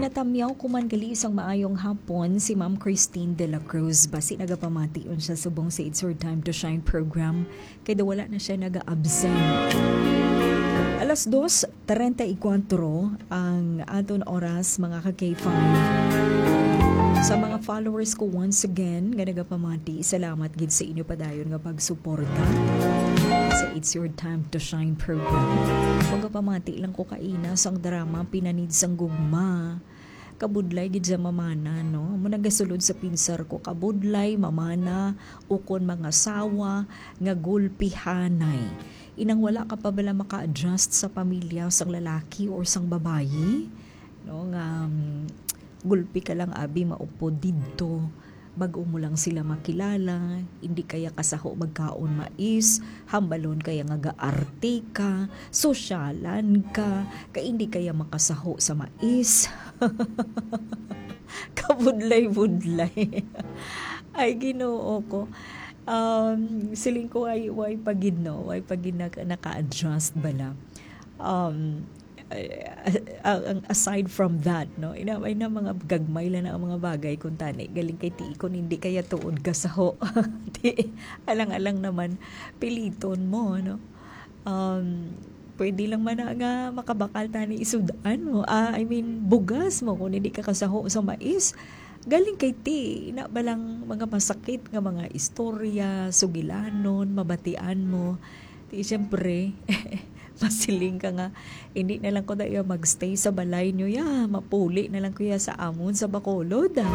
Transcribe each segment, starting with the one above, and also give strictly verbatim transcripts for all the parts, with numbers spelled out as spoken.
Tamyaw ko man gali sang maayong hapon si Ma'am Christine de la Cruz. Basi nagapamati man siya subong sa It's Your Time to Shine program. Kay daw wala na siya naga-absent. Alas dos treinta y cuatro ang aton oras, mga ka K five. Sa mga followers ko, once again, nga nagapamati, salamat gid sa inyo padayon nga pagsuporta sa It's Your Time to Shine program. Magapamati lang ko kaina sang drama Pinanid sang Gugma. Kabudlay gid sa mamana, no? Amo nagasulod sa pinsar ko, kabudlay, mamana, ukon mangasawa nga gulpihanay. Inang wala ka pa bala maka-adjust sa pamilya sang lalaki or sang babayi, no? Nga, um, gulpi ka lang, abi, maupod didto. Bag-o mo lang sila makilala, hindi kaya kasaho magkaon mais, hambalon kaya nga gaarte ka, sosyalan ka, kay hindi kaya makasaho sa mais. Kabudlay-budlay. Ay, Ginoo ko. Um, siling ko, ay, way pa gid, no? Way pa gid naka-, naka-adjust bala. Um, ay, ang, ang aside from that, no? Ina, ay na mga gagmay lang na ang mga bagay kung tani. Galing kay ti, kung hindi kaya tuod ka sa ho. Ti, alang-alang naman, piliton mo, no? Um, pwede lang man na nga makabakal tani isud-an mo. Ah, I mean, bugas mo kung hindi ka kasaho sa mais. Galing kay ti, na balang mga masakit nga mga istorya, sugilanon, mabatian mo. Ti, siyempre, masiling ka nga, hindi na lang ko da iya magstay sa balay niyo ya. Mapuli na lang ko ya sa amon sa Bacolod, ah.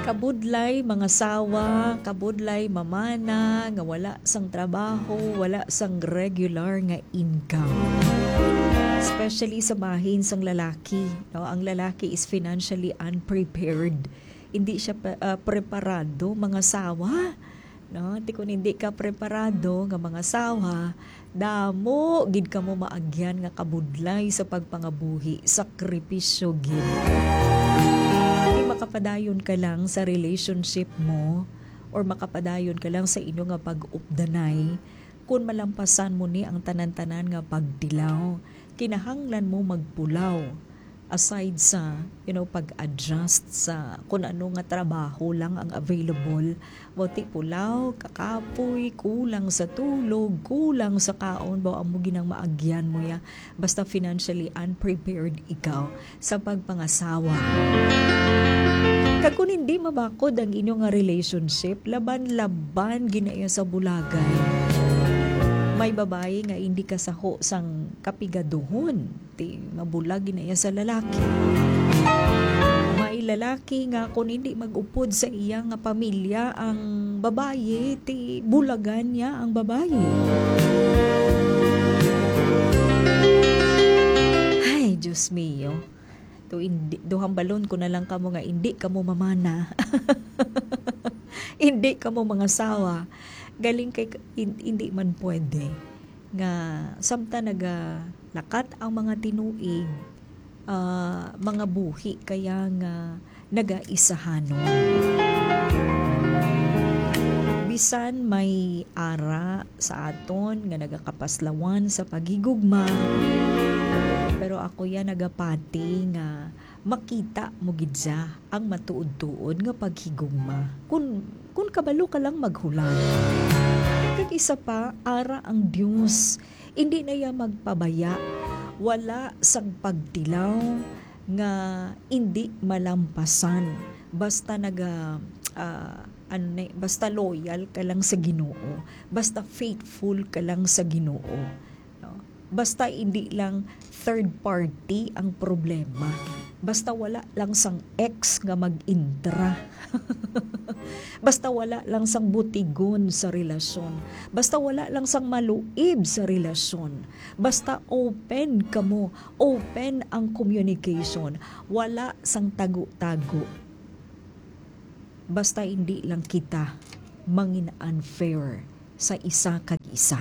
Kabudlay, mangasawa, kabudlay, mamana, nga wala sang trabaho, wala sang regular nga income. Especially sa bahin sang lalaki, no? Ang lalaki is financially unprepared. Hindi siya pa, ah, preparado mangasawa, no? Ti kun hindi ka preparado nga mangasawa, damo gid kamo maagyan nga kabudlay sa pagpangabuhi, sakripisyo gid. Ti makapadayon ka lang sa relationship mo or makapadayon ka lang sa inyo nga pag-updanay kun malampasan mo ni ang tanan-tanan nga pagtilaw. Kinahanglan mo magpulaw. Aside sa, you know, pag-adjust sa kung ano nga trabaho lang ang available, mo ti pulaw, kakapoy, kulang sa tulog, kulang sa kaon, ba amo ginang maagyan mo ya. Basta financially unprepared ikaw sa pagpangasawa. Kag kung hindi mabakod ang inyo nga relationship, laban-laban ginaiya sa bulagay. May babayi nga hindi kasaho sang kapigaduhon, ti mabulag ginaiya sa lalaki. May lalaki nga kung hindi mag-upod sa iya nga pamilya ang babayi, ti bulagan niya ang babayi. Ay, Diyos mio. To indi, duhambalon ko na lang kamo nga indi kamo mamana. Indi kamo mangasawa. Galing kay k-, hin-, hindi man pwede nga samtang nagalakat ang mga tinuig, ah, mga buhi kaya nga nagaisahanon. Bisan may ara sa aton nga nagakapaslawan sa paghigugma, pero ako ya nagapati nga makita mo gid siya ang matuod-tuod nga paghigugma. Kun, kun kabalo ka lang maghulat. Kag isa pa, ara ang Dios. Indi na iya magpabaya. Wala sang pagtilaw nga indi malampasan. Basta naga, ah, ano na, basta loyal ka lang sa Ginoo. Basta faithful ka lang sa Ginoo. No? Basta hindi lang third party ang problema. Basta wala lang sang ex nga mag-intra. Basta wala lang sang butigon sa relasyon. Basta wala lang sang maluib sa relasyon. Basta open kamo, open ang communication. Wala sang tago-tago. Basta hindi lang kita mangin unfair sa isa kag isa.